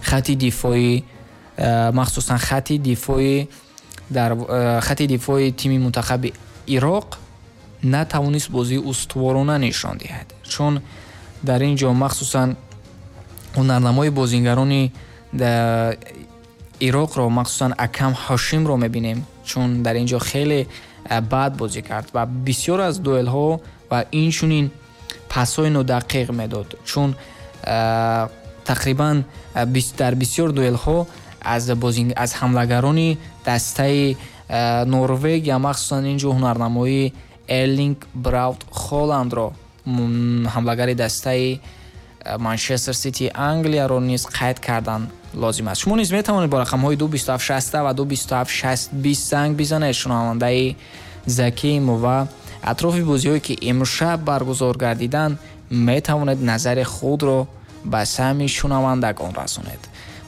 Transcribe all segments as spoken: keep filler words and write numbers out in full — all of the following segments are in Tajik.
Хати дифоӣ, махсусан хати дифоӣ дар хати дифои тими мунтахаби Ироқ натавонист бозии устуворона нишон диҳад, чун дар ин ҷо махсусан ҳунарнамои бозингарони Ироқро, махсусан Акам Ҳошимро мебинем, чун дар ин ҷо хеле бад бозӣ кард ва бисёр аз дуэлҳо ва инчунин пасҳои нодақиқ медод, чун тақрибан дар бисёр дуэлҳо аз аз ҳамлагарони дастаи Норвегия, махсусан ин ҷо ҳунарнамоии Эрлинг Браут Холандро, ҳамлагари дастаи Манчестер Сити Англияро низ қайд кардан лозим аст. Шумо низ метавонед бо рақамҳои ду бисту ҳафт шаст ва ду бисту ҳафт шаст бист занг бизанед. Шунавандаи Закиимо ва атрофи бозиҳое ки имшаб баргузор гардиданд, метавонед назари худро ба самъи шунавандагон расонед.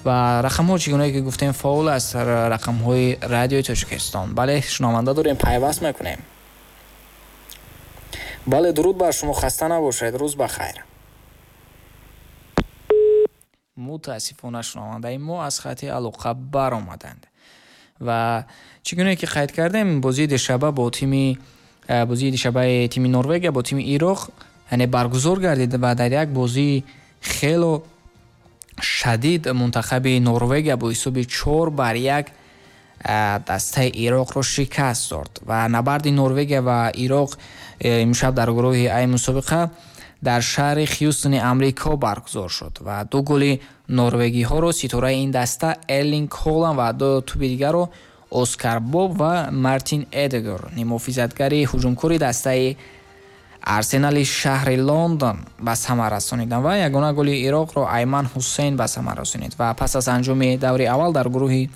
Ва рақамҳо чӣ гунае ки гуфтем фаъол аст, рақамҳои радиои Тоҷикистон. Бале, шунаванда дорем, пайваст мекунем. Бале, дуруд бар шумо, хаста набошед, рӯз ба хайр. Мутаассифона шунавандаи мо аз хати алоқа баромаданд. Ва чӣ гунае ки қайд кардем, бозии душаба бо тими бозии душабаи тими Норвегия бо тими Ироқ яъне баргузор гардид ва дар як бозии хело шадид мунтахаби Норвегия бо ҳисоби чор бар як дастаи Ироқро шикаст дод. Ва набарди Норвегия ва Ироқ имшаб дар гурӯҳи Ай мусобиқа дар шаҳри Хьюстони Амрико баргузор шуд ва ду голи норвегиҳоро ситораи ин даста Эрлинг Холанд ва ду туби дигарро Оскар Боб ва Мартин Эдегор, нимуҳофизатгари ҳуҷумкори дастаи Арсенали шаҳри Лондон ба самар расониданд ва ягона голи Ироқро Айман Ҳусейн ба самар расонид. Ва пас аз анҷоми даври аввал дар гурӯҳи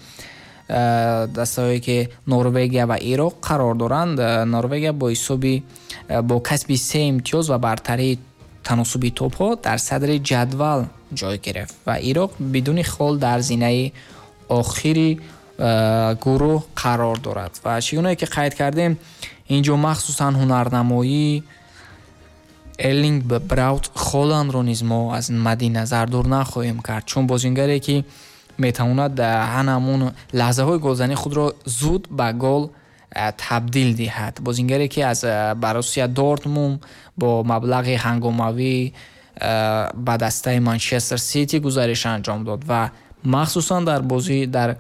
дастаҳое ки Норвегия ва Ироқ қарор доранд, Норвегия бо ҳисоби бо касби се имтиёз ва бартарии таносуби топҳо дар садри ҷадвал ҷой гирифт ва Ироқ бидуни хол дар зинаи охири гурӯҳ қарор дорад. Ва чӣ гунае ки қайд кардем, ин ҷо махсусан ҳунарнамоии Эрлинг Браут Холандро низ мо аз мадди назар дур нахоҳем кард, чун бозингаре ки метавонад ҳамон лаҳзаҳои голзании худро зуд ба гол табдил диҳад. Бозингаре ки аз Боруссия Дортмунд бо маблағи ҳангомавӣ ба дастаи Манчестер Сити гузариш анҷом дод ва махсусан дар бозӣ дар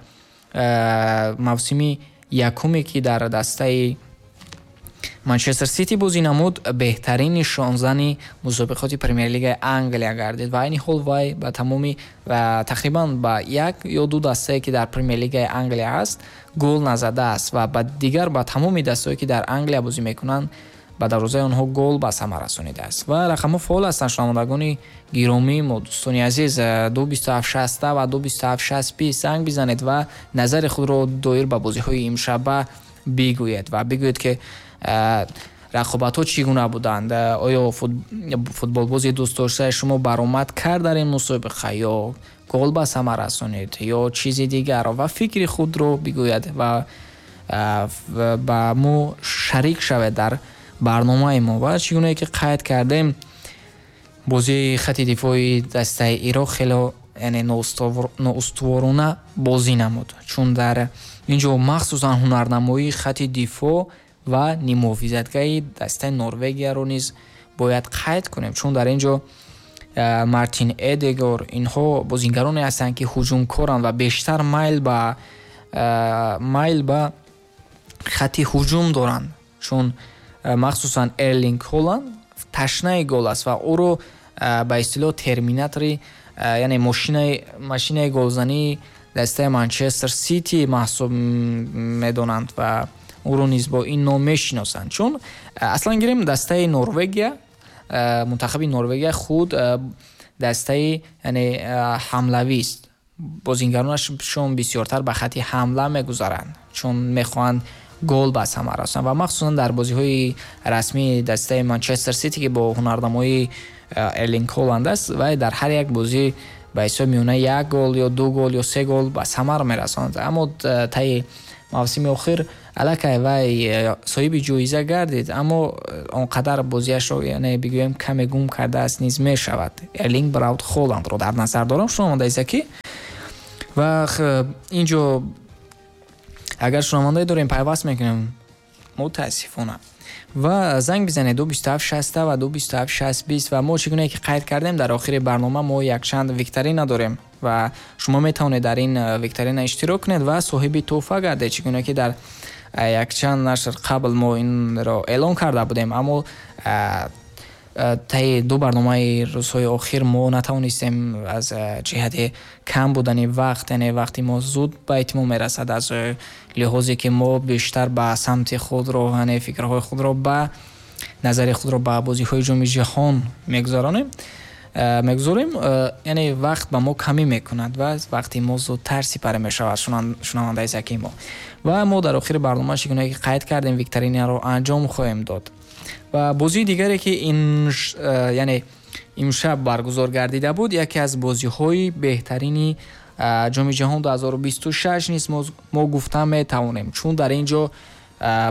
мавсими якуме ки дар дастаи Манчестер Сити бозӣ намуд, беҳтарин нишонзани мусобиқоти Премер-лигаи Англия гардид ва айни ҳол вай ба тамоми ва тақрибан ба як ё ду дастае ки дар Премер-лигаи Англия ҳаст гол назадааст ва ба дигар ба тамоми дастаҳое ки дар Англия бозӣ мекунанд ба дарвозаи онҳо гол ба самар расонидааст. Ва рақамҳо фаъол ҳастанд, шунавандагони гиромии мо, дӯстони азиз, ду бисту ҳафт шаст ва ду бисту ҳафт шаст бист занг бизанед ва назари худро доир ба бозиҳои имшаба бигӯед ва бигӯед ки рақобатҳо чӣ гуна буданд, оё футболбози дӯстдоштаи шумо баромад кард дар ин мусобиқа ё гол ба самар расонид ё чизи дигарро, ва фикри худро бигӯяд ва ба мо шарик шавед дар барномаи мо. Ва чӣ гунае ки қайд кардем, бозии хати дифои дастаи Ироқ хело яъне ноустуворона бозӣ намуд, чун дар ин ҷо махсусан ҳунарнамоии хати дифоъ ва нимуҳофизатгари дастаи Норвегияро низ бояд қайд кунем, чун дар ин ҷо Мартин Эдегор инҳо бозингароне ҳастанд ки ҳуҷумкоранд ва бештар майл ба майл ба хати ҳуҷум доранд, чун махсусан Эрлинг Холанд ташнаи гол аст ва ӯро ба истилоҳ терминатори, яъне мошинаи машинаи голзании дастаи Манчестер Сити маҳсуб медонанд ва ӯро низ бо ин ном мешиносанд. Чун аслан гирем дастаи Норвегия, мунтахаби Норвегия худ дастаи яъне ҳамлавист, бозингаронашон бисёртар ба хати ҳамла мегузаранд, чун мехоҳанд гол ба самар расонанд ва махсусан дар бозиҳои расмии дастаи Манчестер Сити ки бо ҳунарнамоии Эрлинг Холанд аст, вай дар ҳар як бозӣ ба ҳисоби миёна як гол ё ду гол ё се гол ба самар мерасонад. Аммо таи мавсими охир аллакай вай соҳиби ҷоиза гардид, аммо он қадар бозиашро яъне бигӯем каме гум кардааст низ мешавад. Эрлинг Браут Холандро дар назар дорам, шунавандаи Заки. Ва инҷо агар шунавандае дорем, пайваст мекунем, мутаассифона. Ва занг бизанед ду бисту ҳафт шаст ва ду бисту ҳафт шаст бист. Ва мо чӣ гуна ки қайд кардем, дар охири барнома мо якчанд викторина дорем ва шумо метавонед дар ин викторина иштирок кунед ва соҳиби тӯҳфа гардед. Чӣ гуна ки дар якчанд нашр қабл мо инро эълон карда будем, аммо таи ду барномаи рӯзҳои охир мо натавонистем аз ҷиҳати кам будани вақт, яъне вақти мо зуд ба итмом мерасад, аз лиҳозе ки мо бештар ба самти худро, яъне фикрҳои худро, ба назари худро ба бозиҳои ҷоми ҷаҳон мегузаронем, мегузорем, яъне вақт ба мо камӣ мекунад ва вақти мо зудтар сипарӣ мешавад, шунавандаи закии мо. Ва мо дар охири барнома чӣ гуна ки қайд кардем, викторинаро анҷом хоҳем дод. Ва бозии дигаре ки ин яъне имшаб баргузор гардида буд, яке аз бозиҳои беҳтарини ҷоми ҷаҳон ду ҳазору бисту шаш низ мо гуфта метавонем, чун дар ин ҷо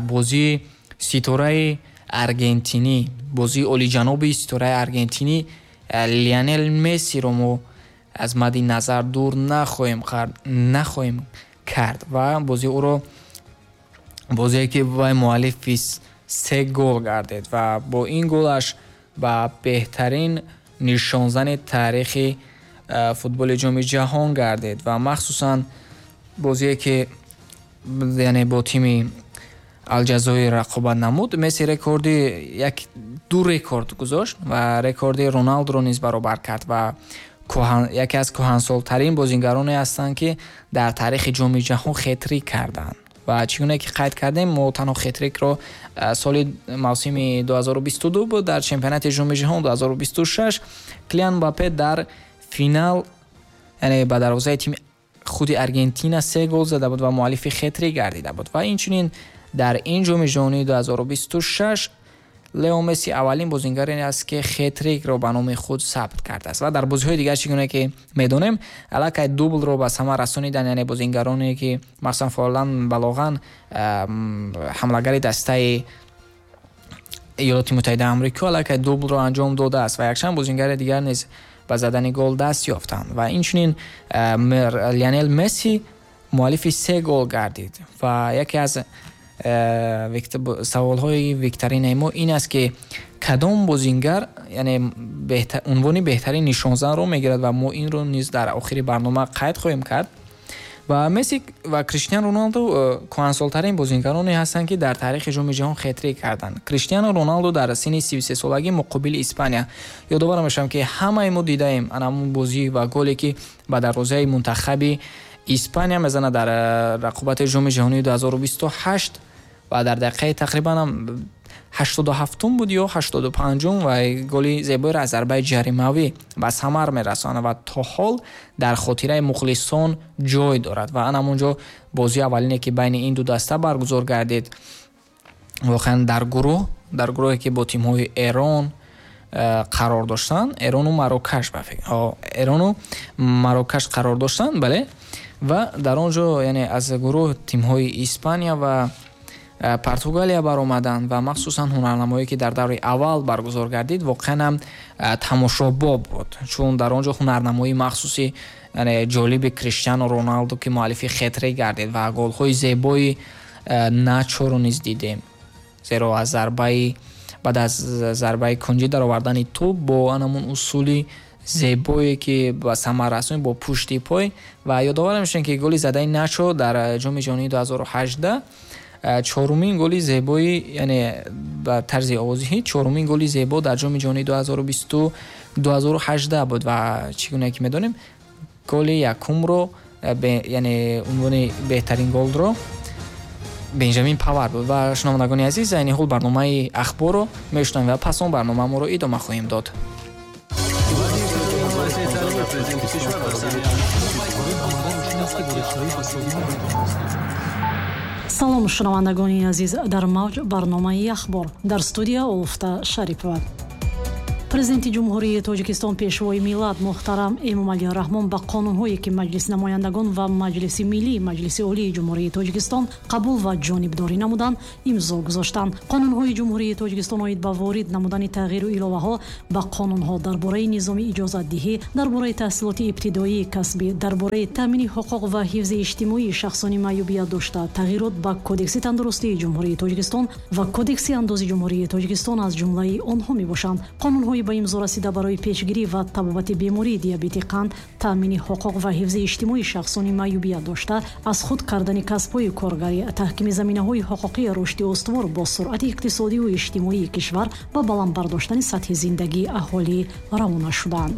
бозии ситораи аргентинӣ, бозии олиҷаноби ситораи аргентинӣ Лионел Мессиро мо аз мадди назар дур нахоҳем нахоҳем кард ва бозии ӯро, бозие ки вай муаллифи се гол гардид ва бо ин голаш ба беҳтарин нишонзани таърихи футболи ҷоми ҷаҳон гардид ва махсусан бозие ки яъне бо тими Алҷазоир рақобат намуд, Месси рекорди як ду рекорд гузошт ва рекорди Роналдуро низ баробар кард ва яке аз кӯҳансолтарин бозигароне ҳастанд, ки дар таърихи ҷоми ҷаҳон хетрик карданд. Ва чӣ гуна ки қайд кардем, мо танҳо хетрикро соли мавсими ду ҳазору бисту ду буд дар чемпионати ҷоми ҷаҳон ду ҳазору бисту шаш Килиан Мбаппе дар финал, яъне ба дарвозаи тими худи Аргентина се гол зада буд ва муаллифи хетрик гардида буд. Ва инчунин дар ин ҷоми ҷаҳонии ду ҳазору бисту шаш Лео Месси аввалин бозингаре аст, ки хетрикро ба номи худ сабт кардааст. Ва дар бозиҳои дигар чӣ гуна ки медонем, аллакай дублро ба самар расонидан, яъне бозингароне ки махсусан Форлан Балоған, ҳамлагари дастаи Иёлоти Муттаҳидаи Амрико, аллакай дублро анҷом додааст ва якчанд бозингари дигар низ ба задани гол даст ёфтанд. Ва инчунин Лионел Месси муаллифи се гол гардид ва яке аз саволҳои викторинаи мо ин аст, ки кадом бозингар яъне унвони беҳтарин нишонзанро мегирад ва мо инро низ дар охири барнома қайд хоҳем кард. Ва Месси ва Криштиану Роналду кӯҳансолтарин бозингароне ҳастанд, ки дар таърихи ҷоми ҷаҳон хетрик карданд. Криштиану Роналду дар синни сию се солагӣ муқобили Испания, ёдовар мешавам, ки ҳамаи мо дидаем анамун бозӣ ва голе ки ба дарвозаи мунтахаби Испания мезанад дар рақобати ҷоми ҷаҳонии ду ҳазору бисту ҳашт ва дар дақиқаи тақрибан ҳаштоду ҳафтум буд ё ҳаштоду панҷум ва голи зебоеро аз зарбаи ҷаримавӣ ба самар мерасонад ва то ҳол дар хотираи мухлисон ҷой дорад. Ва анамунҷо бозии аввалине ки байни ин ду даста баргузор гардид, воқеан дар гурӯҳ, дар гурӯҳе ки бо тимҳои Эрон қарор доштанд, Эрону Марокаш, ба фикр, Эрону Марокаш қарор доштанд, бале. Ва дар он ҷо яъне аз гурӯҳ тимҳои Испания ва Португалия баромаданд ва махсусан ҳунарнамоие ки дар даври аввал баргузор гардид, воқеан ҳам тамошобоб буд, чун дар он ҷо ҳунарнамоии махсуси яъне ҷолиби Криштиану Роналду ки муаллифи хетрик гардид ва голҳои зебои Начоро низ дидем, зеро аз зарбаи баъд аз зарбаи кунҷӣ даровардани тӯб бо анамун усули зебое ки ба самар расонид бо пушти пой. Ва ёдовар мешавем, ки голи задаи Начо дар ҷоми ҷаҳонии ду ҳазору ҳаждаҳ чорумин голи зебои, яъне ба тарзи овозӣ чорумин голи зебо дар ҷоми ҷаҳонии ду ҳазору бисту ду ҳазору ҳаждаҳ буд. Ва чӣ гуна ки медонем, голи якумро, яъне унвони беҳтарин голро Бенҷамин Павар буд. Ва шунавандагони азиз, айни ҳол барномаи ахборро мешунавем ва пас он барномааморо идома хоҳем дод. Салом, шунавандагони азиз, дар мавҷ барномаи ахбор, дар студия Улфта Шарипова. Президенти Ҷумҳурии Тоҷикистон, Пешвои миллат муҳтарам Эмомалӣ Раҳмон ба қонунҳое, ки Маҷлиси намояндагон ва Маҷлиси Миллӣ Маҷлиси Олии Ҷумҳурии Тоҷикистон қабул ва ҷонибдорӣ намуданд, имзо гузоштанд. Қонунҳои Ҷумҳурии Тоҷикистон оид ба ворид намудани тағйиру иловаҳо ба қонунҳо дар бораи низоми иҷозатдиҳӣ, дар бораи таҳсилоти ибтидоии касбӣ, дар бораи таъмини ҳуқуқ ва ҳифзи иҷтимоии шахсони маъюбият дошта, тағйирот ба Кодекси тандурустии Ҷумҳурии Тоҷикистон ва Кодекси андози Ҷумҳурии Тоҷикистон аз ҷумлаи онҳо мебошанд. Қонунҳои ба имзо расида барои пешгирӣ ва табобати бемории диабети қанд, таъмини ҳуқуқ ва ҳифзи иҷтимоии шахсони маъюбият дошта, аз худ кардани касбҳои коргарӣ, таҳкими заминаҳои ҳуқуқии рушди устувор бо суръати иқтисодиву иҷтимоии кишвар ва баланд бардоштани сатҳи зиндагии аҳолӣ равона шуданд.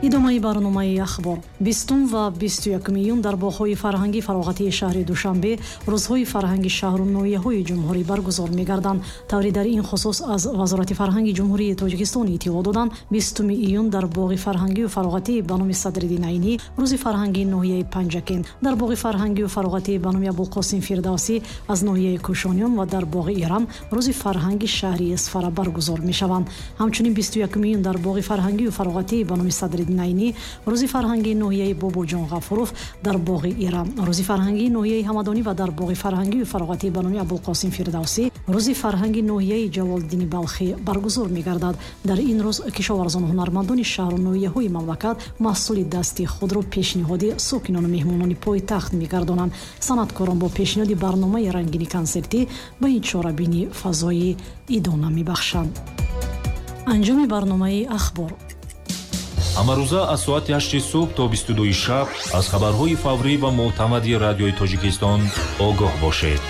Идомаи барномаи ахбор. Бистум ва бисту якуми июн дар боғҳои фарҳангӣ фароғатии шаҳри Душанбе рӯзҳои фарҳанги шаҳру ноҳияҳои ҷумҳурӣ баргузор мегарданд. Тавре дар ин хусус аз Вазорати фарҳанги Ҷумҳурии Тоҷикистон иттилоъ доданд, бистуми июн дар боғи фарҳангию фароғатии ба номи Садриддин Айнӣ рӯзи фарҳангии ноҳияи Панҷакент, дар боғи фарҳангию фароғатии ба номи Абулқосим Фирдавсӣ аз ноҳияи Кӯшониён ва дар боғи Ирам рӯзи фарҳанги шаҳри Исфара баргузор мешаванд. Ҳамчунин бисту якуми июн дар боғи фарҳангию фароғатии ба номи Садриддин Айнӣ рӯзи фарҳангии ноҳияи Бобоҷон Ғафуров, дар боғи Ирам рӯзи фарҳангии ноҳияи Ҳамадонӣ ва дар боғи фарҳангию фароғатӣ ба номи Абулқосим Фирдавсӣ рӯзи фарҳанги ноҳияи Ҷалолиддини Балхӣ баргузор мегардад. Дар ин рӯз кишоварзону ҳунармандони шаҳру ноҳияҳои мамлакат маҳсули дасти худро пешниҳоди сокинону меҳмонони пойтахт мегардонанд. Санъаткорон бо пешниҳоди барномаи рангини консертӣ ба ин чорабинӣ фазои идона мебахшанд. Анҷоми барномаи ахбор. Ҳамарӯза аз соати ҳашти субҳ то бисту дуи шаб аз хабарҳои фаврӣ ва мӯътамади радиои Тоҷикистон огоҳ бошед.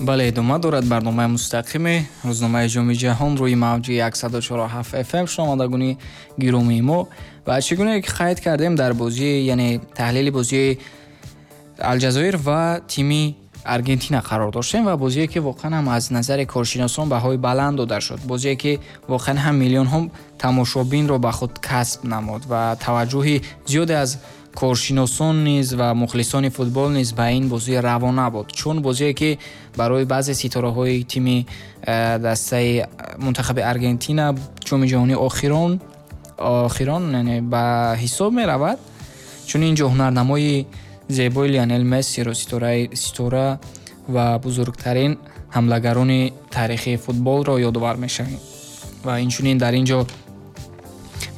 Бале, идома дорад барномаи мустақими рӯзномаи Ҷоми Ҷаҳон рӯи мавҷи яксаду чору ҳафт эф эм. Шунавандагони гиромии мо, ва чӣ гуна ки қайд кардем дар бозии, яъне таҳлили бозии Алҷазоир ва тими Аргентина қарор доштем ва бозие ки воқеан ҳам аз назари коршиносон баҳои баланд дода шуд, бозие ки воқеан ҳам миллионҳо тамошобинро ба худ касб намуд ва таваҷҷӯҳи зиёде аз коршиносон низ ва мухлисони футбол низ ба ин бозӣ равона буд, чун бозие ки барои баъзе ситораҳои тими дастаи мунтахаби Аргентина ҷоми ҷаҳонии охирон охирон яъне ба ҳисоб меравад, чун инҷо ҳунарнамои зебои Лионел Мессиро, ситораи ситора ва бузургтарин ҳамлагарони таърихи футболро ёдовар мешавем. Ва инчунин дар ин ҷо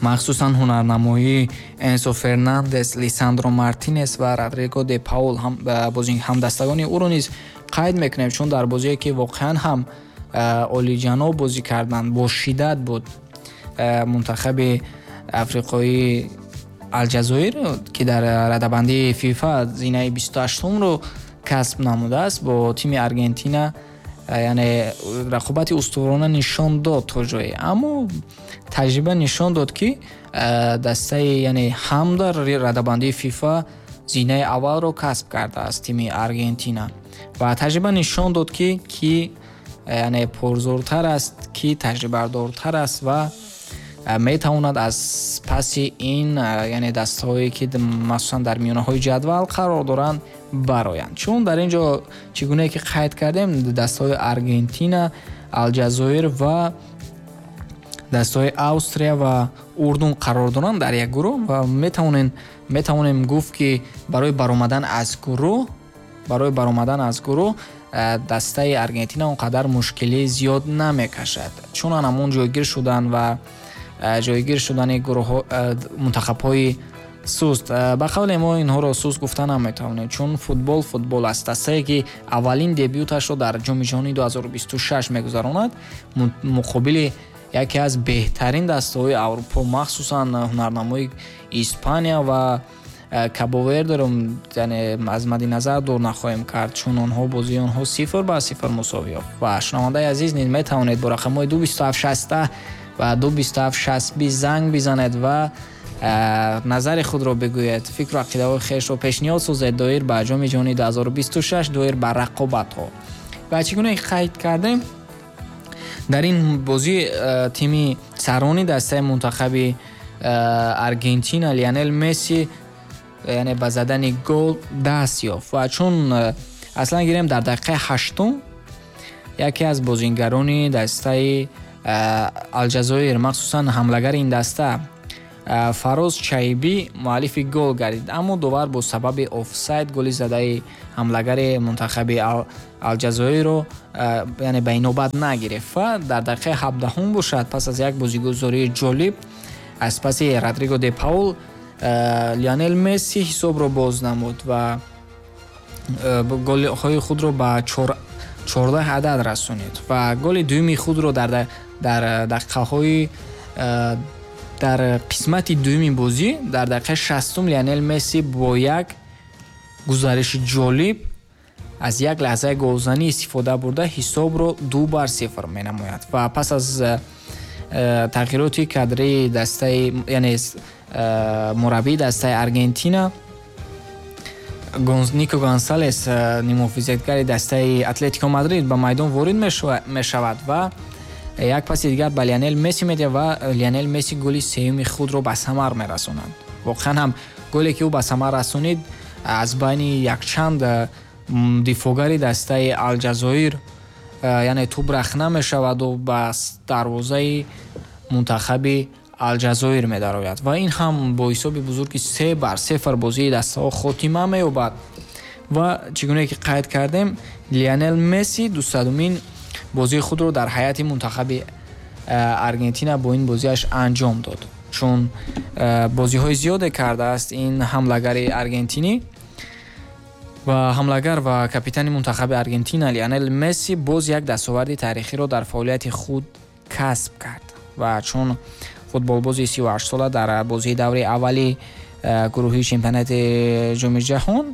махсусан ҳунарнамоии Энсо Фернандес, Лисандро Мартинес ва Родриго де Паул ҳамдастагони ӯро низ қайд мекунем, чун дар бозие ки воқеан ҳам олиҷаноб бозӣ карданд, бо шиддат буд мунтахаби африқоии Алҷазоир, ки дар радабандии ФИФА зинаи бисту ҳаштумро касб намудааст, бо тими Аргентина яъне рақобати устуворона нишон дод то ҷое, аммо таҷриба нишон дод, ки дастаи яъне ҳам дар радабандии ФИФА зинаи аввалро касб кардааст тими Аргентина ва таҷриба нишон дод, ки ки яъне пурзӯртар аст, ки таҷрибадортар аст ва метавонад аз паси ин яъне дастҳое ки махсусан дар миёнаҳои ҷадвал қарор доранд бароянд. Чун дар ин ҷо чӣ гунае ки қайд кардем, дастҳои Аргентина, Алҷазоир ва дастҳои Австрия ва Урдун қарор доранд дар як гурӯҳ ва метавонем метавонем гуфт, ки барои баромадан аз гурӯҳ барои баромадан аз гурӯҳ дастаи Аргентина он қадар мушкилӣ зиёд намекашад, чун ҳамон ҷойгир шудан ва ҷойгир шудани гурӯҳҳо мунтахабҳои суст, ба қавле мо инҳоро суст гуфта наметавонем, чун футбол футбол аст. Дастае ки аввалин дебюташро дар ҷоми ҷаҳонии ду ҳазору бисту шаш мегузаронад, муқобили яке аз беҳтарин дастаҳои Аврупо, махсусан ҳунарнамои Испания ва Кабо-Вердеро яъне аз мадди назар дур нахоҳем кард, чун онҳо бозии онҳо сифр ба сифр мусовӣ ёфт. Ва шунавандаи азиз низ метавонед бо рақамҳои ду бисту ҳафт шасту ва ду бисту ҳафт шасту бист занг бизанед ва назари худро бигӯед, фикру ақидаҳои хешро пешниҳод созед доир ба ҷоми ҷаҳонии ду ҳазору бисту шаш, доир ба рақобатҳо. Ва чӣ гуна қайд кардем, дар ин бозӣ тими сарони дастаи мунтахаби Аргентина Лионел Месси яъне ба задани гол даст ёфт. Ва чун аслан гирем дар дақиқаи ҳаштум яке аз бозингарони дастаи Алҷазоир, махсусан ҳамлагари ин даста Фароз Чайбӣ муаллифи гол гардид, аммо довар бо сабаби офсайд голи задаи ҳамлагари мунтахаби Алҷазоирро яъне ба инобат нагирифт. Ва дар дақиқаи ҳабдаҳум бошад, пас аз як бозигузории ҷолиб аз паси Родриго де Паул Лионел Месси ҳисобро боз намуд ва голҳои худро ба чордаҳ адад расонид ва голи дуюми худро дар дар дақиқаҳои дар қисмати дуюми бозӣ дар дақиқаи шастум Лионел Месси бо як гузариши ҷолиб аз як лаҳзаи голзанӣ истифода бурда ҳисобро ду бар сифр менамояд. Ва пас аз тағйироти кадрии дастаи яъне мураббии дастаи Аргентина Нико Гонсалес, нимҳофизатгари дастаи Атлетико Мадрид ба майдон ворид мешавад ва як паси дигар ба Лионел Месси медиҳад ва Лионел Месси голи сеюми худро ба самар мерасонад. Воқеан ҳам голе ки ӯ ба самар расонид аз байни якчанд дифоъгари дастаи Алҷазоир яъне тӯб рахна мешаваду ба дарвозаи мунтахаби Алҷазоир медарояд ва ин ҳам бо ҳисоби бузурги се бар сифр бозии дастаҳо хотима меёбад. Ва чӣ гуне ки қайд кардем, Лионел Месси дусадумин бозии худро дар ҳайати мунтахаби Аргентина бо ин бозиаш анҷом дод, чун бозиҳои зиёде кардааст ин ҳамлагари аргентинӣ. Ва ҳамлагар ва капитани мунтахаби Аргентина Лионел Месси боз як дастоварди таърихиро дар фаъолияти худ касб кард ва чун футболбози сию ҳашт сола дар бозии даври аввали гурӯҳии чемпионати ҷоми ҷаҳон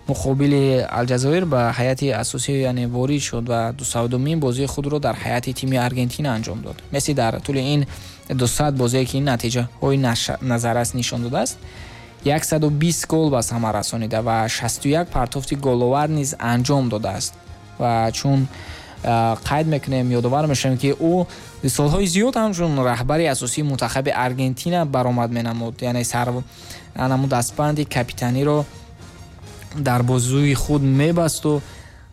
муқобили Алҷазоир ба ҳайати асосӣ яъне ворид шуд ва дусадумин бозии худро дар ҳайати тими Аргентина анҷом дод. Месси дар тӯли ин дусад бозие ки ин натиҷаҳои назаррас нишон додааст, яксаду бист гол ба самар расонида ва шасту як партофти головар низ анҷом додааст. Ва чун қайд мекунем, ёдовар мешавем ки ӯ солҳои зиёд ҳамчун раҳбари асосии мунтахаби Аргентина баромад менамуд, яъне сарнамуд дастбанди капитаниро дар бозуи худ мебасту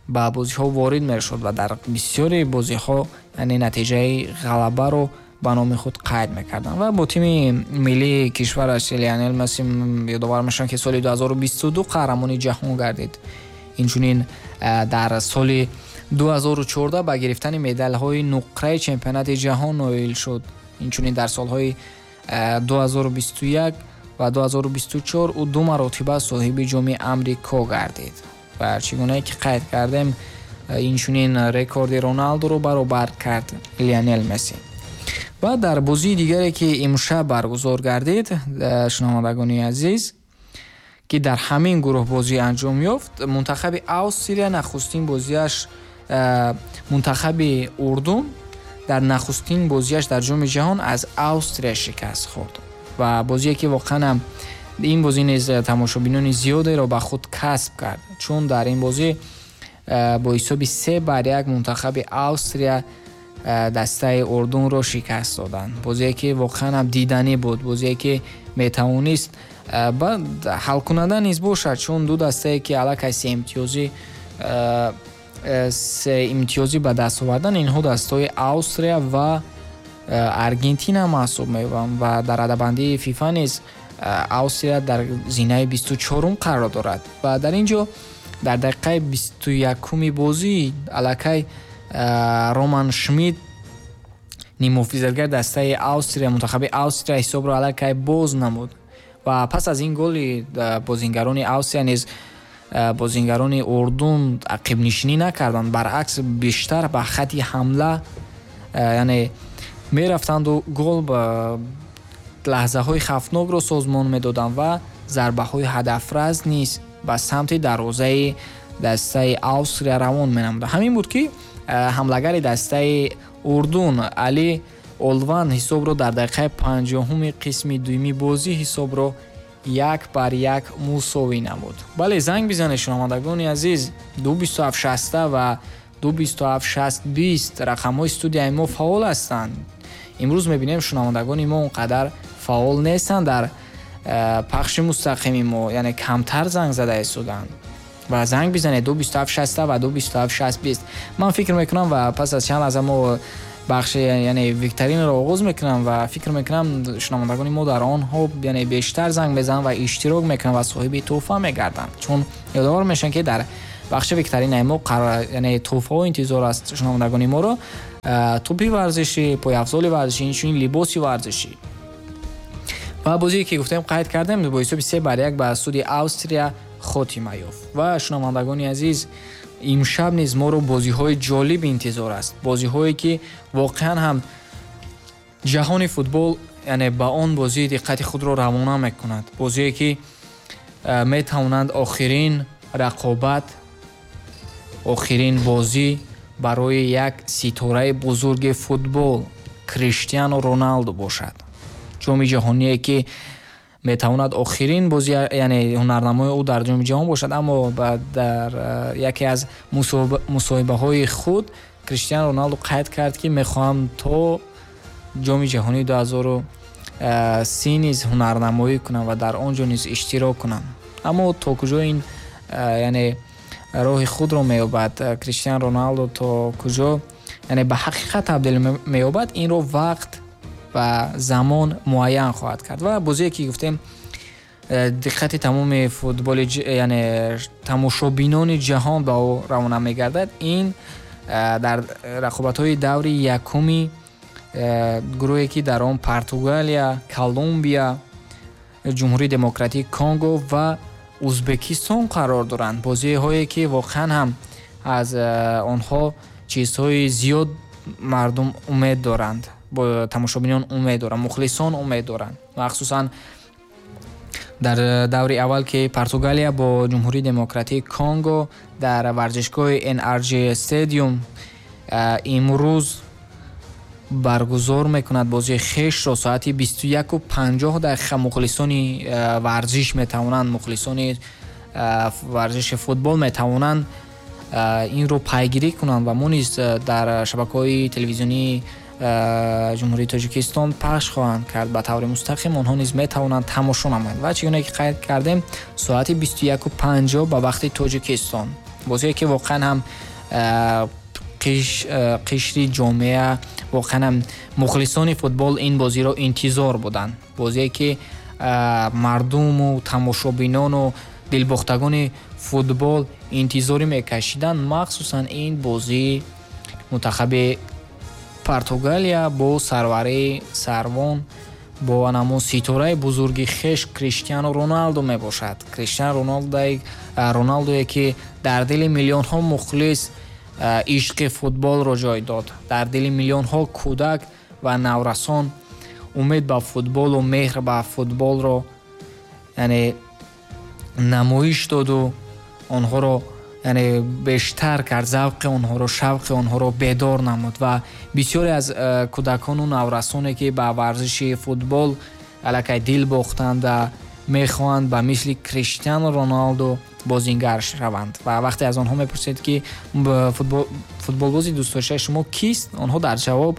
ба бозиҳо ворид мешуд ва дар бисёри бозиҳо яъне натиҷаи ғалабаро ба номи худ қайд мекарданд. Ва бо тими миллии кишвараш Лионел Месси ёдовар мешаванд ки соли ду ҳазору бисту ду қаҳрамони ҷаҳон гардид. Инчунин дар соли ду ҳазору чордаҳ ба гирифтани медалҳои нуқраи чемпионати ҷаҳон ноил шуд. Инчунин дар солҳои ду ҳазору бисту як ва ду ҳазору бисту чор ӯ ду маротиба соҳиби ҷоми Амрико гардид. Ва чӣ гунае ки қайд кардем, инчунин рекорди Роналдуро баробар кард Лионел Месси. Ва дар бозии дигаре ки имшаб баргузор гардид, шунавандагони азиз, ки дар ҳамин гурӯҳ бозӣ анҷом ёфт, мунтахаби Австрия нахустин бозиаш мунтахаби Урдун дар нахустин бозиаш дар ҷоми ҷаҳон аз Австрия шикаст хӯрд. Ва бозие ки воқеан ҳам ин бозӣ низ тамошобинони зиёдеро ба худ касб кард, чун дар ин бозӣ бо ҳисоби се бар як мунтахаби Австрия дастаи Урдунро шикаст доданд. Бозие ки воқеан ҳам диданӣ буд, бозие ки метавонист ҳалкунанда низ бошад, чун ду дастае ки аллакай се имтиёзӣ се имтиёзӣ ба даст овардан, инҳо дастаҳои Австрия ва Аргентина маҳсуб меёбанд ва дар радабандии ФИФА низ Австрия дар зинаи бисту чорум қарор дорад. Ва дар ин ҷо дар дақиқаи бисту якуми бозӣ аллакай Роман Шмидт, нимҳофизатгари дастаи Австрия, мунтахаби Австрия ҳисобро аллакай боз намуд. Ва пас аз ин голи бозингарони Австрия низ бозингарони Урдун ақибнишинӣ накарданд, баръакс бештар ба хати ҳамла яъне мерафтанду гол ба лаҳзаҳои хавфнокро созмон медоданд ва зарбаҳои ҳадафрас низ ба самти дарвозаи дастаи Австрия равон менамуданд. Ҳамин буд ки ҳамлагари дастаи Урдун Али Олван ҳисобро дар дақиқаи панҷоҳуми қисми дуюми бозӣ ҳисобро як бар як мусовӣ намуд. Бале, занг бизанед шунавандагони азиз, ду бисту ҳафт шаста ва ду бисту ҳафт шаст бист рақамҳои студияи мо фаъол ҳастанд. Имрӯз мебинем шунавандагони мо он қадар фаъол нестанд дар пахши мустақими мо яъне камтар занг зада истоданд ва занг бизанед ду бисту ҳафт шаст ва ду бисту ҳафт шаст бист. Ман фикр мекунам ва пас аз чанд лаҳза мо бахши яъне викторинро оғоз мекунам ва фикр мекунам шунавандагони мо дар онҳо яъне бештар занг мезананд ва иштирок мекунанд ва соҳиби тӯҳфа мегарданд, чун ёдовар мешаванд, ки дар бахши викторинаи мо яъне тӯҳфаҳо интизор аст шунавандагони моро: тӯпи варзишӣ, пойафзоли варзишӣ, инчунин либоси варзишӣ. Ва бозие ки гуфтем қайд кардем бо ҳисоби се бар як ба суди Австрия хотима ёфт. Ва шунавандагони азиз, имшаб низ моро бозиҳои ҷолиб интизор аст, бозиҳое ки воқеан ҳам ҷаҳони футбол яъне ба он бозӣ диққати худро равона мекунад, бозие ки метавонанд охирин рақобат, охирин бозӣ барои як ситораи бузурги футбол Криштиану Роналду бошад. Ҷоми ҷаҳоние ки метавонад охирин бозӣ яъне ҳунарнамои ӯ дар ҷоми ҷаҳон бошад, аммо дар яке аз мусоҳибаҳои худ Криштиану Роналду қайд кард, ки мехоҳам то ҷоми ҷаҳонии ду ҳазору си низ ҳунарнамоӣ кунам ва дар он ҷо низ иштирок кунам. Аммо то куҷо ин яъне роҳи худро меёбад Криштиану Роналду, то куҷо яъне ба ҳақиқат табдил меёбад, инро вақт ва замон муайян хоҳад кард. Ва бозие ки гуфтем диққати тамоми футболи яъне тамошобинони ҷаҳон ба ӯ равона мегардад, ин дар рақобатҳои даври якуми гурӯҳе ки дар он Португалия, Колумбия, Ҷумҳурии Демократии Конго ва Узбекистон қарор доранд. Бозиҳое ки воқеан ҳам аз онҳо чизҳои зиёд мардум умед доранд, тамошобинон умед доранд, мухлисон умед доранд. Махсусан дар даври аввал ки Португалия бо Ҷумҳурии Демократии Конго дар варзишгоҳи эн ар ҷи Stadium имрӯз баргузор мекунад бозии хешро соати бисту яку панҷоҳ дақиқа. Мухлисони варзиш метавонанд, мухлисони варзиши футбол метавонанд инро пайгирӣ кунанд ва мо низ дар шабакаҳои телевизионии Ҷумҳурии Тоҷикистон пахш хоҳанд кард ба таври мустақим. Онҳо низ метавонанд тамошо намоянд. Ва чигуна ки қайд кардем, соати бисту яку панҷоҳ ба вақти Тоҷикистон, бозие ки воқеан ҳам қишри ҷомеа, воқеан ҳам мухлисони футбол ин бозиро интизор буданд, бозие ки мардуму тамошобинону дилбохтагони футбол интизорӣ мекашиданд, махсусан ин бозии мунтахаби Португалия бо сарварии сарвон, бо анамон ситораи бузурги хеш Криштиану Роналду мебошад. Криштиану Роналдое ки дар дили миллионҳо мухлис ишқи футболро ҷой дод, дар дили миллионҳо кӯдак ва наврасон умед ба футболу меҳр ба футболро яъне намоиш доду онҳоро яъне бештар кард, завқи онҳоро, шавқи онҳоро бедор намуд. Ва бисёре аз кӯдакону наврасоне ки ба варзиши футбол аллакай дил бохтанд ва мехоҳанд ба мисли Криштиану Роналду бозингар шаванд. Ва вақте аз онҳо мепурсед ки футболбози дӯстдоштаи шумо кист, онҳо дар ҷавоб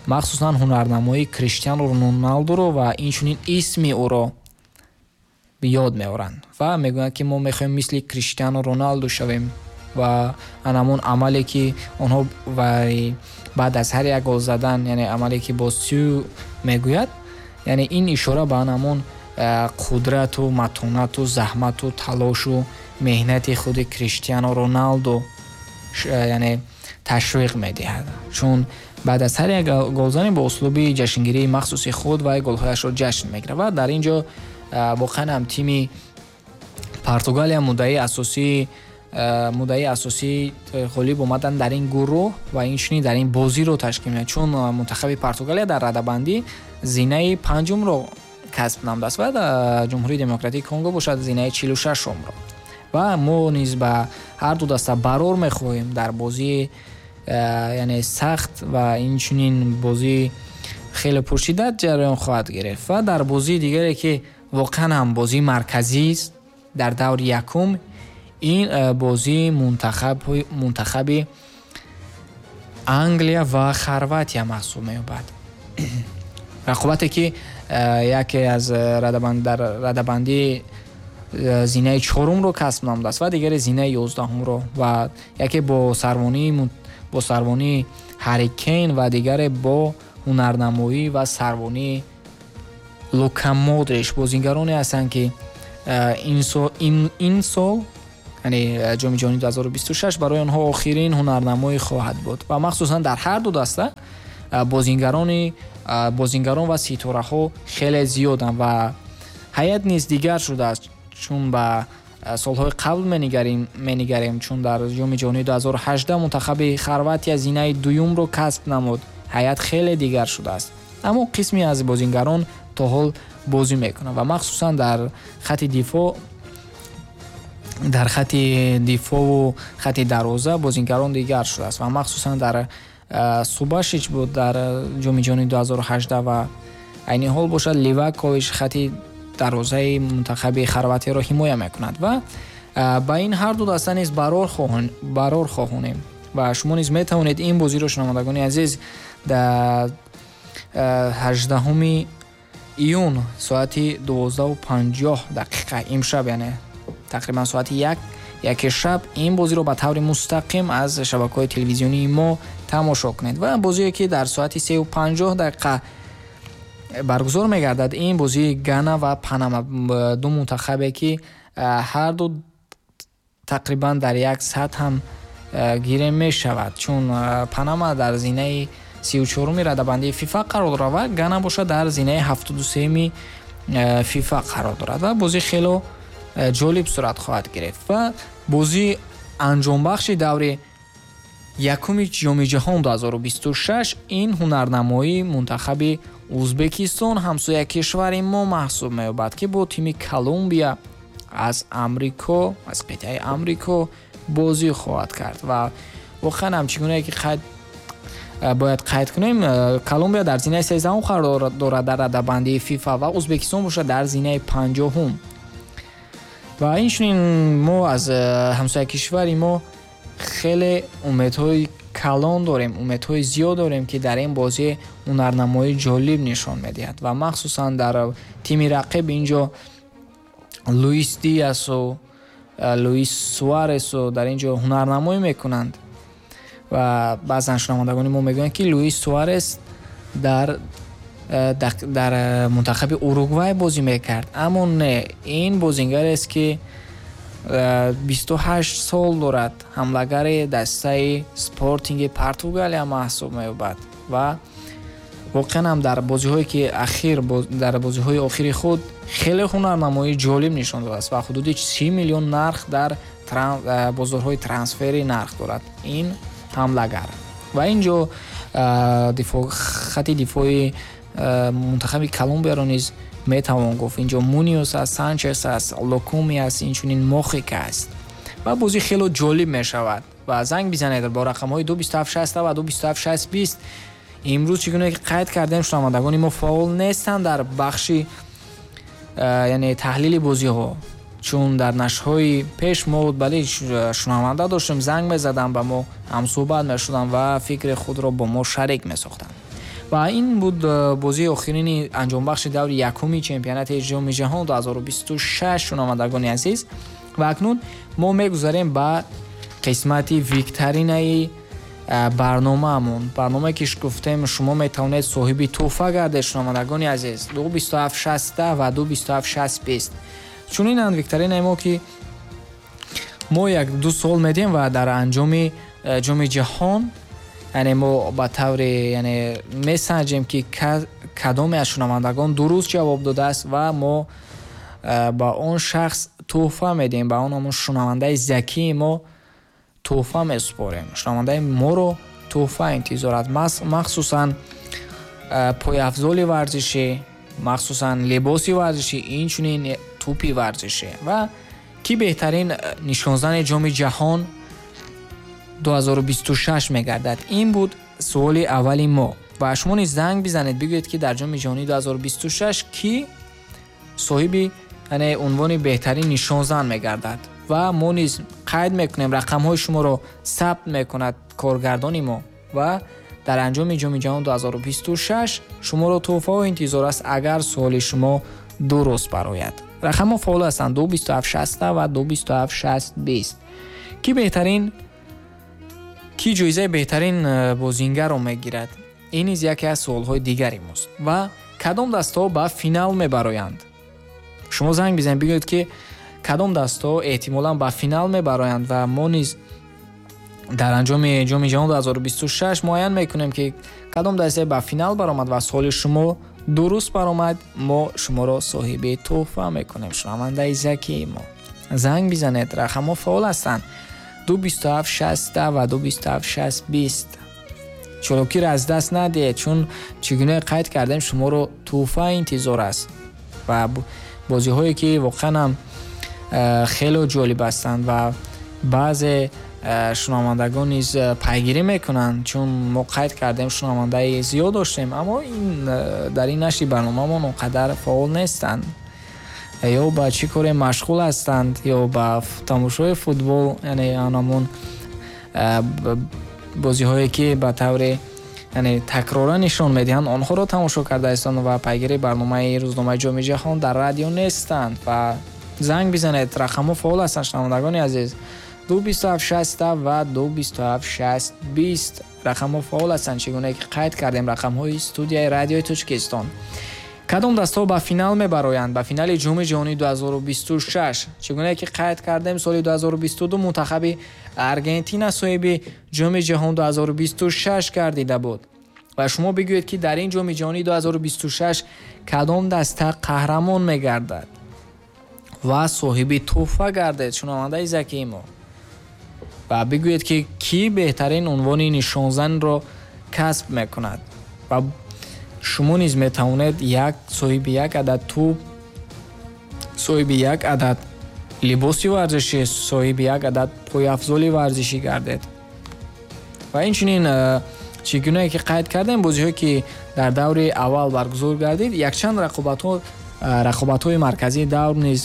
махсусан ҳунарнамоии Криштиану Роналдуро ва инчунин исми ӯро ёд меоранд ва мегӯянд ки мо мехоҳем мисли Криштиану Роналду шавем. Ва анамон амале ки онҳо баъд аз ҳар як гол задан, яъне амале ки бо сю мегӯяд, яъне ин ишора ба анамон қудрату матонату заҳмату талошу меҳнати худи Криштиану Роналду яъне ташвиқ медиҳад, чун баъд аз ҳар як голзанӣ бо услуби ҷашнгирии махсуси худ ва голҳояшро ҷашн мегирад. Ва дар ин ҷо воқеан ҳам тими Португалия муддаи асосии муддаи асосии ғолиб омадан дар ин гурӯҳ ва инчунин дар ин бозиро ташкил медиҳад, чун мунтахаби Португалия дар радабандӣ зинаи панҷумро касб намудааст ва дар Ҷумҳурии Демократии Конго бошад зинаи чилу шашумро. Ва мо низ ба ҳар ду даста барор мехоҳем дар бозии яъне сахт ва инчунин бозии хеле пуршиддат ҷараён хоҳад гирифт. Ва дар бозии дигаре ки воқеан ҳам бозии марказист дар даври якум, ин бозии мунтахаби Англия ва Хорватия маҳсуб меёбад. Рақобате ки яке аз радабанд дар радабандии зинаи чорумро касб намудааст ва дигаре зинаи ёздаҳумро ва яке бо сарвонии бо сарвонии Ҳарри Кейн ва дигаре бо ҳунарнамоӣ ва сарвонии Лука Модрич. Бозингароне ҳастанд, ки ин сол, яъне Ҷоми ҷаҳонии ду ҳазору бисту шаш, барои онҳо охирин ҳунарнамоӣ хоҳад буд ва махсусан дар ҳар ду даста бозингарони бозингарон ва ситораҳо хеле зиёданд ва ҳайат низ дигар шудааст, чун ба солҳои қабл менигарем менигарем чун дар Ҷоми ҷаҳонии ду ҳазору ҳаждаҳ мунтахаби Хорватия зинаи дуюмро касб намуд. Ҳайат хеле дигар шудааст, аммо қисме аз бозингарон то ҳол бозӣ мекунанд ва махсусан дар хати дифоъ дар хати дифоъву хати дарвоза бозингарон дигар шудааст ва махсусан дар Субашич буд дар Ҷоми ҷаҳонии ду ҳазору ҳаждаҳ ва айни ҳол бошад Ливакович хати дарвозаи мунтахаби Хорватияро ҳимоя мекунад ва ба ин ҳар ду даста низ барор хоҳонем ва шумо низ метавонед ин бозиро, шунавандагони азиз, дар ҳаждаҳуми июн соати дувоздаҳу панҷоҳ дақиқа имшаб, яъне тақрибан соати як яке шаб, ин бозиро ба таври мустақим аз шабакаҳои телевизионии мо тамошо кунед. Ва бозие ки дар соати сеу панҷоҳ дақиқа баргузор мегардад, ин бозии Гана ва Панама, ду мунтахабе ки ҳар ду тақрибан дар як сатҳ ҳам гире мешавад, чун Панама дар зинаи сию чоруми радабандии ФИФА қарор дорад ва Гана бошад дар зинаи ҳафтоду сеюми ФИФА қарор дорад ва бозӣ хело ҷолиб сурат хоҳад гирифт. Ва бозии анҷомбахши даври якуми Ҷоми ҷаҳон ду ҳазору бисту шаш ин ҳунарнамоии мунтахаби Ӯзбекистон, ҳамсоя кишвари мо маҳсуб меёбад, ки бо тими Колумбия аз Амрико, аз қитъаи Амрико бозӣ хоҳад кард. Ва воқеан ҳам чӣ гунае ки қайд бояд қайд кунем, Колумбия дар зинаи сездаҳум қарор дорад дар радабандии ФИФА ва Ӯзбекистон бошад дар зинаи панҷоҳум. Ва инчунин мо аз ҳамсоя кишвари мо хеле умедҳои калон дорем, умедҳои зиёд дорем, ки дар ин бозӣ ҳунарнамоии ҷолиб нишон медиҳад ва махсусан дар тими рақиб инҷо Луис Диасу Луис Суаресу дар инҷо ҳунарнамоӣ мекунанд ва баъзан шунавандагони мо мегӯянд, ки Луис Суарес дар дар мунтахаби Уругвай бозӣ мекард, аммо не, ин бозингарест, ки бисту ҳашт сол дорад, ҳамлагари дастаи Спортинги Португалия маҳсуб меёбад ва воқеан ҳам дар бозиҳое ки ахир дар бозиҳои охири худ хеле ҳунарнамоии ҷолиб нишон додааст ва ҳудуди си миллион нарх дар бозорҳои трансфери нарх дорад ин ҳамлагар. Ва инҷо хати дифои мунтахаби Колумбияро низ метавон гуфт. Инҷо Муниос аст, Санчес аст, Локуми аст, инчунин Мохика аст ва бозӣ хело ҷолиб мешавад. Ва занг бизанед бо рақамҳои ду бисту ҳафт шаст ва ду бисту ҳафт шаст бист. Имрӯз чӣ гуна ки қайд кардем, шунавандагони мо фаъол нестанд дар бахши яъне таҳлили бозиҳо, чун дар нашрҳои пеш мо бале шунаванда доштем, занг мезаданд ба мо, ҳамсӯҳбат мешуданд ва фикри худро бо мо шарик месохтанд. Ва ин буд бозии охирини анҷомбахши даври якуми чемпионати Ҷоми ҷаҳон ду ҳазору бисту шаш, шунавандагони азиз. Ва акнун мо мегузарем ба қисмати викторинаи барномаамон. Барномае ки гуфтем шумо метавонед соҳиби тӯҳфа гардед, шунавандагони азиз, ду бисту ҳафт шаст ва ду бисту ҳафт шаст бист. Чунинанд викторинаи мо, ки мо як ду суол медиҳем ва дар анҷоми Ҷоми ҷаҳон, яъне мо ба тавре яъне месанҷем, ки кадоме аз шунавандагон дуруст ҷавоб додааст ва мо ба он шахс тӯҳфа медиҳем, ба он ҳамон шунавандаи закии мо тӯҳфа месупорем. Шунавандаи моро тӯҳфа интизор аст, махсусан пойафзоли варзишӣ, махсусан либоси варзишӣ, инчунин тӯпи варзишӣ. Ва ки беҳтарин нишонзани Ҷоми ҷаҳон ду ҳазору бисту шаш мегардад? Ин буд суоли аввали мо. Ва шумо низ занг бизанед, бигӯед, ки дар Ҷоми ҷаҳонӣ ду ҳазору бисту шаш ки соҳиби яъне унвони беҳтарин нишонзан мегардад. Ва мо низ қайд мекунем, рақамҳои шуморо сабт мекунад коргардони мо ва дар анҷоми ҷоми ҷаҳон ду ҳазору бисту шаш шуморо тӯҳфаҳо интизор аст, агар суоли шумо дуруст барояд. Рақамҳо фаъол ҳастанд: ду бисту ҳафт шаст ва ду бисту ҳафт шаст бист. Ки беҳтарин, ки ҷоизаи беҳтарин бозингарро мегирад? Ин низ яке аз суолҳои дигари мост. Ва кадом дастаҳо ба финал мебароянд? Шумо занг бизанед, бигӯед ки кадом дастаҳо эҳтимолан ба финал мебароянд ва мо низ дар анҷоми ҷоми ҷаҳон ду ҳазору бисту шаш муайян мекунем ки кадом дастае ба финал баромад ва суоли шумо дуруст баромад, мо шуморо соҳиби тӯҳфа мекунем. Шунавандаи закии мо, занг бизанед, рақамҳо фаъол ҳастанд: ду бисту ҳафт шаст ва ду бисту ҳафт шаст бист. Чолокиро аз даст надиҳед, чун чӣ гуна қайд кардем, шуморо тӯҳфа интизор аст ва бозиҳое ки воқеан ҳам хеле ҷолиб ҳастанд ва баъзе шунавандагон низ пайгирӣ мекунанд, чун мо қайд кардем шунавандаи зиёд доштем, аммо ин дар ин нашри барномаамон он қадар фаъол нестанд, ё ба чӣ коре машғул ҳастанд, ё ба тамошои футбол, яъне анамон бозиҳое ки ба тавре яъне такрора нишон медиҳанд, онҳоро тамошо карда ҳастанд ва пайгири барномаи рӯзномаи ҷоми ҷаҳон дар радио нестанд. Ва занг бизанед, рақамҳо фаъол ҳастанд, шунавандагони азиз: ду бисту ҳафт шаст ва ду бисту ҳафт шаст бист. Рақамҳо фаъол ҳастанд, чӣ гуна ки қайд кардем, рақамҳои студияи радиои Тоҷикистон. Кадом дастаҳо ба финал мебароянд? Ба финали ҷоми ҷаҳонӣ ду ҳазору бисту шаш. Чӣ гуна ки қайд кардем, соли ду ҳазору бисту ду мунтахаби Аргентина соҳиби ҷоми ҷаҳон ду ҳазору бисту шаш гардида буд. Ва шумо бигӯед ки дар ин ҷоми ҷаҳонӣ ду ҳазору бисту шаш кадом даста қаҳрамон мегардад ва соҳиби тӯҳфа гардед, шунавандаи закии мо. Ва бигӯед ки кӣ беҳтарин унвони нишонзанро касб мекунад. Ва шумо низ метавонед як соҳиби як адад тӯб, соҳиби як адад либоси варзишӣ, соҳиби як адад пойафзоли варзишӣ гардед. Ва инчунин чӣ гунае ки қайд кардем, бозиҳое ки дар даври аввал баргузор гардид, якчанд рақобатҳо рақобатҳои марказии давр низ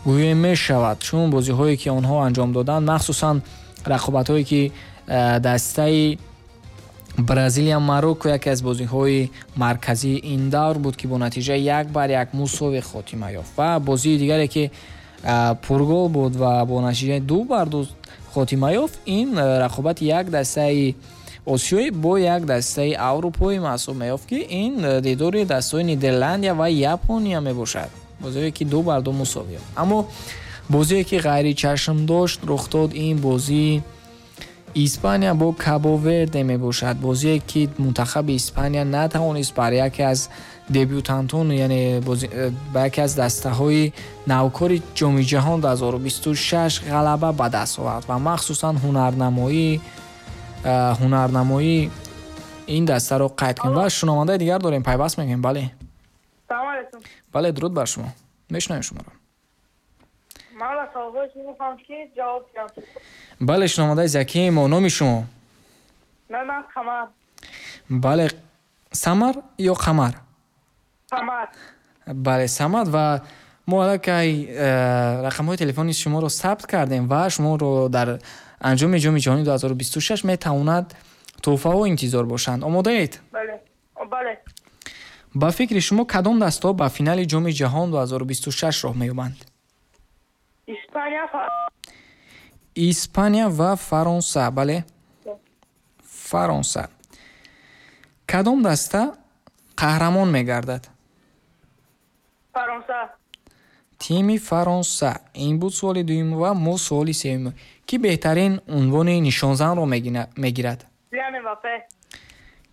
гӯё мешавад, чун бозиҳое ки онҳо анҷом доданд, махсусан рақобатҳое ки дастаи Бразилия Марокко яке аз бозиҳои марказии ин давр буд ки бо натиҷаи як бар як мусовӣ хотима ёфт ва бозии дигаре ки пургол буд ва бо натиҷаи ду бар ду хотима ёфт, ин рақобати як дастаи осиёӣ бо як дастаи аврупоӣ маҳсуб меёфт ки ин дидори дастаҳои Нидерландия ва Япония мебошад, бозие ки ду бар ду мусовӣ ёфт. Аммо бозие ки ғайричашм дошт рух дод, ин бозии Испания бо Кабо Верде мебошад, бозие ки мунтахаби Испания натавонист бар яке аз дебютантон, яъне ба яке аз дастаҳои навкори ҷоми ҷаҳон ду ҳазору бисту шаш ғалаба ба даст овард ва махсусан ҳунарнамоӣ ҳунарнамоии ин дастаро қайд кунем. Ва шунавандаи дигар дорем, пайваст мекунем. Бале, салом алейкум. Бале, дуруд бар шумо, мешунавем шуморо. Ман саволҳои шумо мехоҳам ки ҷавоб диҳам. Бале, шунавандаи закии мо, номи шумо? Ман ман Қамар. Бале, Самар ё Қамар? Самар. Бале, Самад. Ва мо аллакай рақамҳои телефони шуморо сабт кардем ва шуморо дар анҷоми ҷоми ҷаҳонӣ ду ҳазору бисту шаш метавонад тӯҳфаҳо интизор бошанд. Омодаед? Бале, бале. Ба фикри шумо кадом дастаҳо ба финали ҷоми ҷаҳон ду ҳазору бисту шаш роҳ меёбанд? Испания, Испания ва Фаронса. Бале, Фаронса. Кадом даста қаҳрамон мегардад? Фаронса. Тими Фаронса. Ин буд суоли дуюм ва мо суоли сеюм. Ки беҳтарин унвони нишонзанро мегирад? Килиан Мбаппе.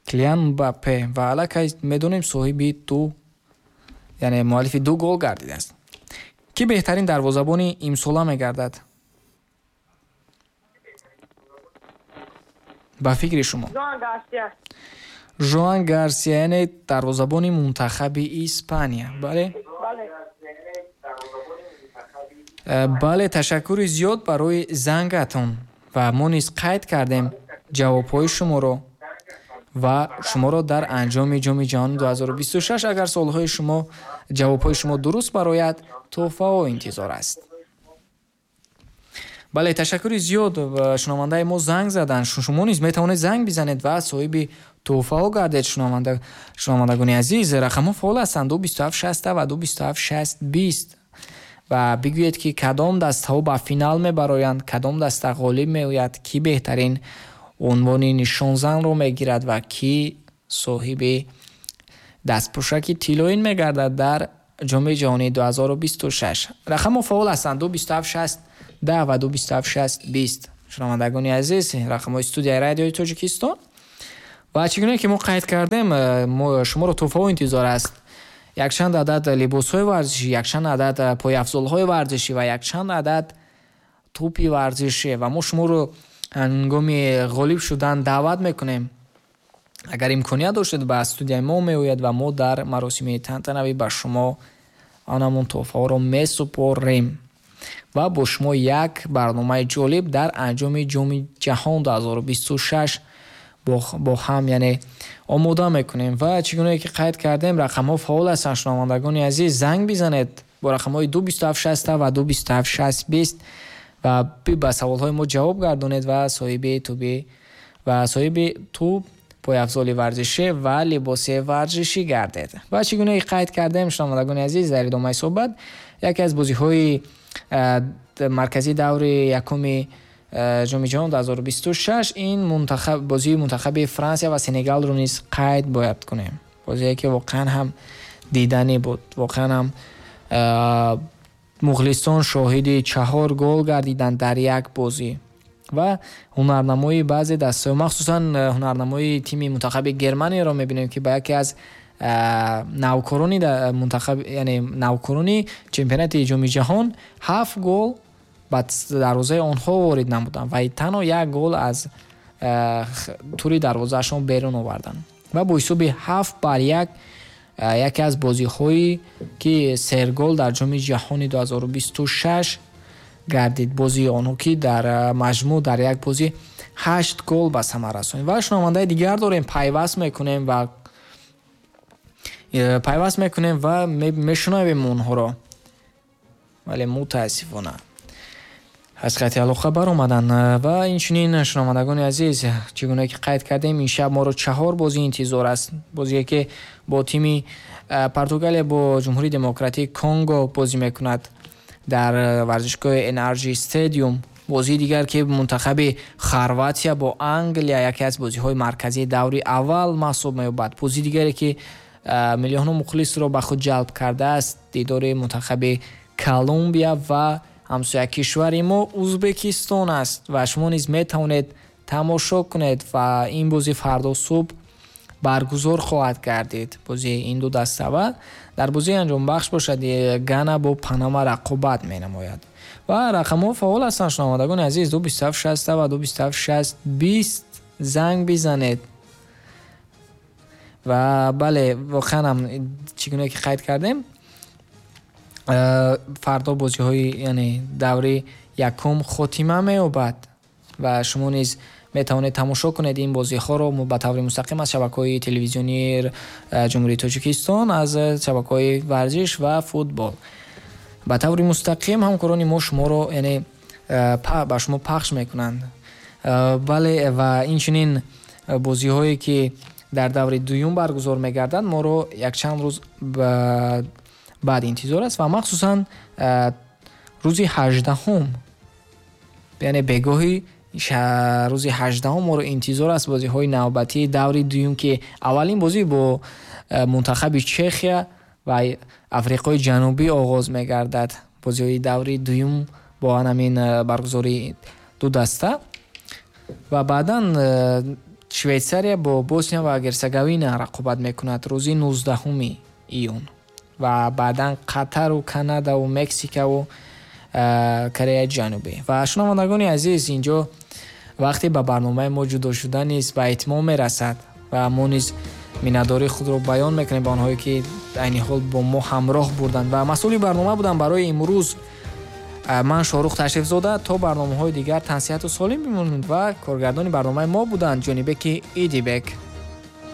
Килиан Мбаппе. Ва аллакай медонем соҳиби ду, яъне муаллифи ду гол гардидааст. Ки беҳтарин дарвозабони имсола мегардад? Ба фикри шумо? Жоан Гарсия. Жоан Гарсия, яъне дарвозабони мунтахаби Испания. Бале? Бале. Бале, ташаккури зиёд барои зангатон ва мо низ қайд кардем ҷавобҳои шуморо ва шуморо дар анҷоми ҷоми ҷаҳони ду ҳазору бисту шаш агар суолҳои шумо ҷавобҳои шумо дуруст барояд, тӯҳфаҳо интизор аст. Бале, ташаккури зиёд, шунавандаи мо занг заданд. Шумо низ метавонед занг бизанед ва соҳиби тӯҳфаҳо гардед. Шунавандагони азиз, рақамҳо фаъол ҳастанд: ду бисту ҳафт шаст ва ду бисту ҳафт шаст бист. Ва бигӯед, ки кадом дастаҳо ба финал мебароянд, кадом даста ғолиб меояд, кӣ беҳтарин унвони нишонзанро мегирад ва кӣ соҳиби дастпӯшаки тиллоин мегардад дар ҷоми ҷаҳонии ду ҳазору бисту шаш. Рақамҳо фаъол ҳастанд: ду бисту ҳафт шаст даҳ ва ду бисту ҳафт шаст бист. Шунавандагони азиз, рақамҳои студияи радиои Тоҷикистон. Ва чӣ гуна ки мо қайд кардем, шуморо тӯҳфаҳо интизор аст. Якчанд адад либосҳои варзишӣ, якчанд адад пойафзолҳои варзишӣ ва якчанд адад тӯпи варзишӣ. Ва мо шуморо ҳангоми ғолиб шудан даъват мекунем. Агар имконият доштед, ба студияи мо меояд ва мо дар маросими тантанавӣ ба шумо анамон тӯҳфаҳоро месупорем ва бо шумо як барномаи ҷолиб дар анҷоми ҷоми ҷаҳон ду ҳазору бисту шаш бо ҳам яъне омода мекунем. Ва чӣ гуна ки қайд кардем, рақамҳо фаъол ҳастанд. Шунавандагони азиз, занг бизанед бо рақамҳои ду бисту ҳафт шаст ва ду бисту ҳафт шаст бист ва ба саволҳои мо ҷавоб гардонед ва соҳиби тӯби ва соҳиби тӯб, пойафзоли варзишӣ ва либоси варзишӣ гардед. Ва чӣ гуна ки қайд кардем, шунавандагони азиз, дар идомаи суҳбат яке аз бозиҳои марказии даври якуми ҷоми ҷаҳон ду ҳазору бисту шаш ин мунтахаб бозии мунтахаби Франсия ва Сенегалро низ қайд бояд кунем. Бозие ки воқеан ҳам диданӣ буд, воқеан ҳам мухлисон шоҳиди чаҳор гол гардиданд дар як бозӣ ва ҳунарнамоии баъзе дастаҳо, махсусан ҳунарнамоии тими мунтахаби Германияро мебинем, ки ба яке аз навкорони мунтахаб, яъне навкорони чемпионати ҷоми ҷаҳон ҳафт гол ба дарвозаи онҳо ворид намуданд ва танҳо як гол аз тури дарвозаашон берун оварданд ва бо ҳисоби ҳафт бар як яке аз бозиҳое ки сергол дар ҷоми ҷаҳони ду ҳазору бисту шаш гардид. Бозии онҳо ки дар маҷмӯъ дар як бозӣ ҳашт гол ба самар расонид. Ва шунавандаи дигар дорем, пайваст мекунем ва пайваст мекунем ва мешунавем онҳоро, вале мутаассифона аз хати алоқа баромаданд. Ва инчунин шунавандагони азиз, чӣ гуна ки қайд кардем, ин шаб моро чаҳор бозӣ интизор аст. Бозие ки бо тими Португалия бо Ҷумҳурии Демократии Конго бозӣ мекунад дар варзишгоҳи эн ар ҷи Stadium. Бозии дигар ки мунтахаби Хорватия бо Англия, яке аз бозиҳои марказии даври аввал маҳсуб меёбад. Бозии дигаре ки миллионҳо мухлисро ба худ ҷалб кардааст, дидори мунтахаби Колумбия ва ҳамсоя кишвари мо Узбекистон аст ва шумо низ метавонед тамошо кунед ва ин бозӣ фардо субҳ баргузор хоҳад гардид. Бозии ин ду даста ва дар бозии анҷомбахш бошад Гана бо Панама рақобат менамояд. Ва рақамҳо фаъол ҳастанд, шунавандагони азиз: ду бисту ҳафт шаст ва ду бисту ҳафт шаст бист. Занг бизанед. Ва бале, воқеан ҳам чӣ гуна ки қайд кардем, фардо бозиҳои яъне даври якум хотима меёбад ва шумо низ метавонед тамошо кунед ин бозиҳоро ба таври мустақим аз шабакаҳои телевизионии Ҷумҳурии Тоҷикистон, аз шабакаҳои варзиш ва футбол. Ба таври мустақим ҳамкорони мо шуморо яъне ба шумо пахш мекунанд. Бале, ва инчунин бозиҳое ки дар даври дуюм баргузор мегарданд, моро якчанд рӯз баъд интизор аст ва махсусан рӯзи ҳаждаҳум, яъне бегоҳи рӯзи ҳаждаҳум моро интизор аст бозиҳои навбатии даври дуюм, ки аввалин бозӣ бо мунтахаби Чехия ва Африқои Ҷанубӣ оғоз мегардад. Бозиҳои даври дуюм бо ҳамин баргузории ду даста ва баъдан Швейтсария бо Босния ва Герцеговина рақобат мекунад рӯзи нуздаҳуми июн ва баъдан Қатару Канадаву Мексикаву Кореяи Ҷанубӣ. Ва шунавандагони азиз, инҷо вақте ба барномаи мо ҷудо шуда низ ба итмом мерасад ва мо низ миннатдории худро баён мекунем ба онҳое ки айни ҳол бо мо ҳамроҳ бурданд ва масъули барнома буданд барои имрӯз ман Шоҳрух Ташрифзода. То барномаҳои дигар тансиҳату солим бимонед ва коргардони барномаи мо буданд Ҷонибеки Идибек.